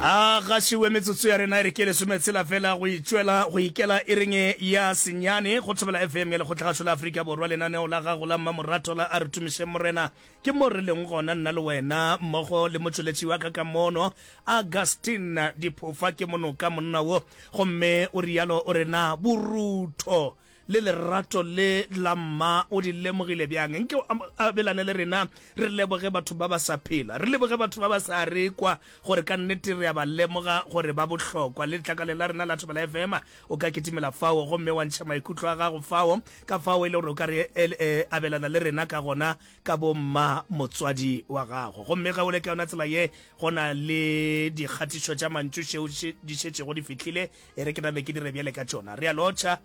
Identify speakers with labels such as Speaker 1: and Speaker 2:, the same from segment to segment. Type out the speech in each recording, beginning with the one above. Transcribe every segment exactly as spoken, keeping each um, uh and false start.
Speaker 1: A gašiwe metsotso ya rena e re ke lesometshela fela go itšwela go ikela iring ya senyane go Thobela F M ya Lekgotlagašo la Afrika Borwa. Lenaneo la gago la mmamorato la A Re Tumišeng Morena ke mo re leng gona, nna le wena mmogo le motšweletši wa ka ka mono, Augustine Diphofa. Ke monoka monna wo, gomme o rialo o re na borutho le lerato le la mma o di lemogile bjang? Nke o abelane le rena. Re leboge batho ba ba sa phela, re leboge batho ba ba sa re kwa, gore ka nnete re a ba lemoga gore ba bohlokwa. Le letlakale la rena la Thobela F M, o ka kitimela fao gomme wa ntšha maikutlo a gago fao, ka fao e le gore o ka re eh, abelana le rena ka gona ka bomma motswadi wa gago. Gomme ge o le ka yona tsela ye, go na le dikgatišo tša mantšu šeo di šetšego di fihlile, e re ke name ke dire bjale ka tšona. Re a lotšha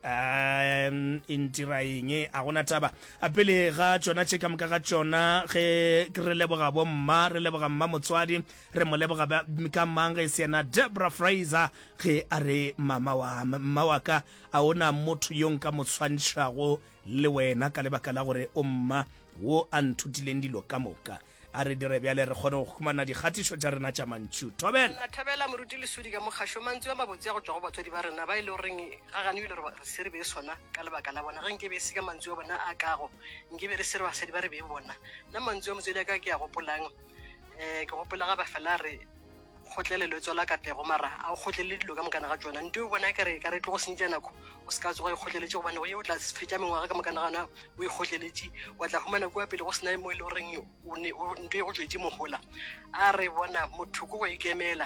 Speaker 1: um e ntira eng, a gona taba. A pele ga tšona tše ka moka ga tšona, ge re leboga bomma, re leboga mma motswadi, re mo leboga ka mang ge se yena Debra Fraser, ge a re mama wa mma wa ka, a ona motho yo nka mo tshwantšhago le wena, ka lebaka la gore o mma wo a nthutileng dilo ka moka. A re dire bjale re kgone go humana dikgatišo tša rena tša mantšu. Thobela.
Speaker 2: Na thabela, moruti Lesodi ka mokgašo. Mantšu a mabotse a go tšwa go batswadi ba rena ba e le goreng ga gane ebile re se re be sona ka lebaka la bona. Ge nke be se ka mantšu a bona a kago, nke be re se re basadi ba re be bona. Nna mantšu a motswadi a ka ke a gopolang, um ke gopola ga ba fela re kgotlelelo e tswala katlego, mara a o kgotlelele dilo ka mokana ga tsona. Nto o bona kare ka re tlo go senyetša nako, o se ka tsoga e kgotleletše, gobane go ye o tla fetša mengwaga ka mokana gana o e kgotleletše, wa tla humana kua pele go sena mo e le goreng nto e go tswetse mogola. A re bona motho ko go ikemela.